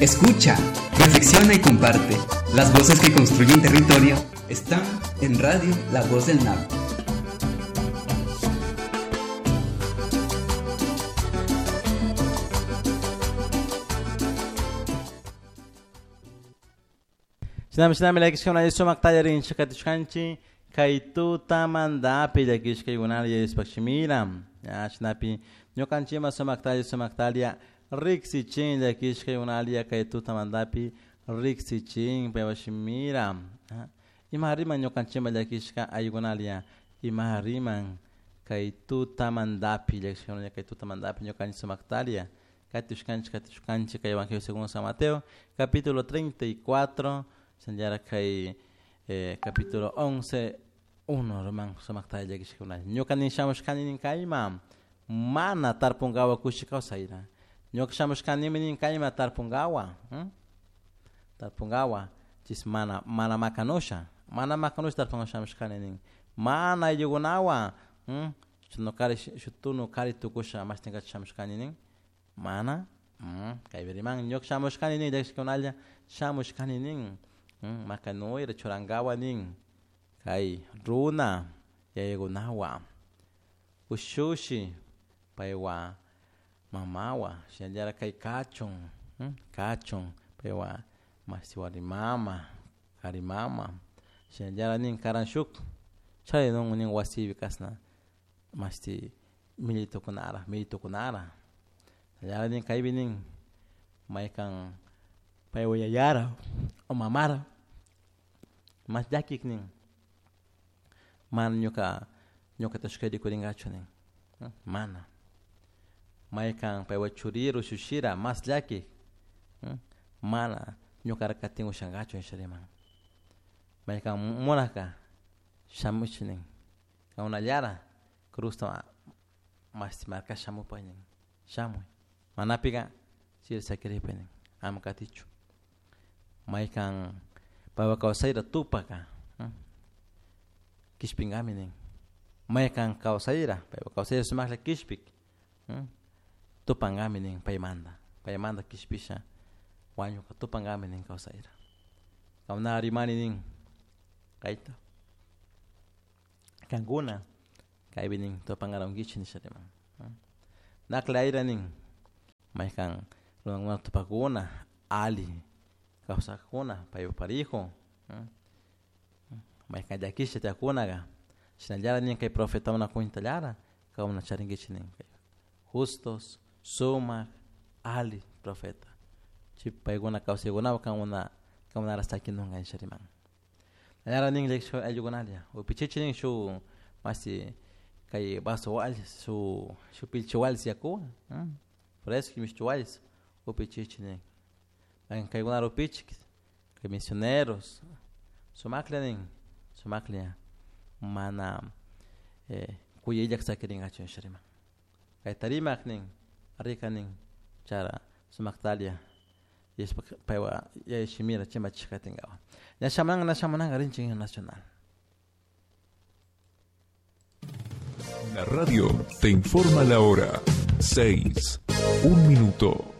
Escucha, reflexiona y comparte. Las voces que construyen territorio están en Radio La Voz del Napo. Shinami shinami llakishkuna sumak tallarinchik katishkanchik kay tutamantapi llakishkaykunata yayashpak shimira shinapi ñukanchikman sumak talla sumak talla riksichin llakishkaykunalla kay tutamantapi riksichin paypak shimira ima riman ñukanchikman llakishka ayllunalla ima riman kay tutamantapi llakishkaykunalla kay tutamantapi ñukanchik sumak talla katishkanchik katishkanchik kay Evangelio según San Mateo capítulo 34 shinallara kay capítulo 11 1 riman sumak talla llakishkaykunalla ñuka nin shamushkani nin kayman mana tarpunkawa kushi kawsayta ñuka shamushkanimi nin kayman tarpunkawa tarpunkawa chis mana mana makanusha mana makanusha tarpunkawa shamushkani nin mana ayllukunawan nukari shuk tunu kari tukusha mashtinkacha shamushkani nin mana kaypi riman ñuka shamushkani nin llakishkunalla shamushkani nin makanuyra churankawa nin kay runa yayakunawan ushushi paywan mamawan shinallara kay kachun kachun paywan mashti warmi mama kari mama shinallara nin karan shuk charinun nin wasipi kashna mashti millitukunara millitukunara shinallara nin kaypi nin maykan paywan yayara o mamara mas llakik nin mana ñuka ñukata rikurinkachu nin mana maykan paywan churira ushushira mas llakik mana ñukara katin ushankachu nisha riman maykan munaka shamuchik nin kankunallara cruzta mashti markash shamupay nin shamuy manapika chiri sakiripay nin ama katichu maykan paypak kawsayta tupaka kishpinkami nin maykan kawsayra paypak kawsayra sumaklla kishpik tupankami nin paymanta paymanta kishpisha wañuka tupankami nin kawsayra kankuna rimani nin kayta kankuna kaypi nin tupankarankichik nisha riman naklayra nin maykan runakuna tupakuna alli kawsakuna paypak parijo maykan llakisha tiyakunaka shinallara nin kay profetakuna cuentallara kankuna charinkichik nin justos sumak alli profeta chay paykuna kawsaykunawan kankuna kankunara sakinunka nisha riman nallara nin llakishka ayllukunalla upichichik nin shuk mashti kay vaso wallis shuk shuk pilchi wallis yakuwan fresco mishki wallis upichichik nin kaykunara upichik kay misioneros sumaklla nin sumaklla mana kuyayllak sakirinkachu nisha riman kayta rimak nin rika nin chara sumaktalla yashpa paywan yaya shimira chimbachishka katinkawan ña shamunanka na shamunanka rinchik nacional. La radio te informa la hora 6, 1 minuto.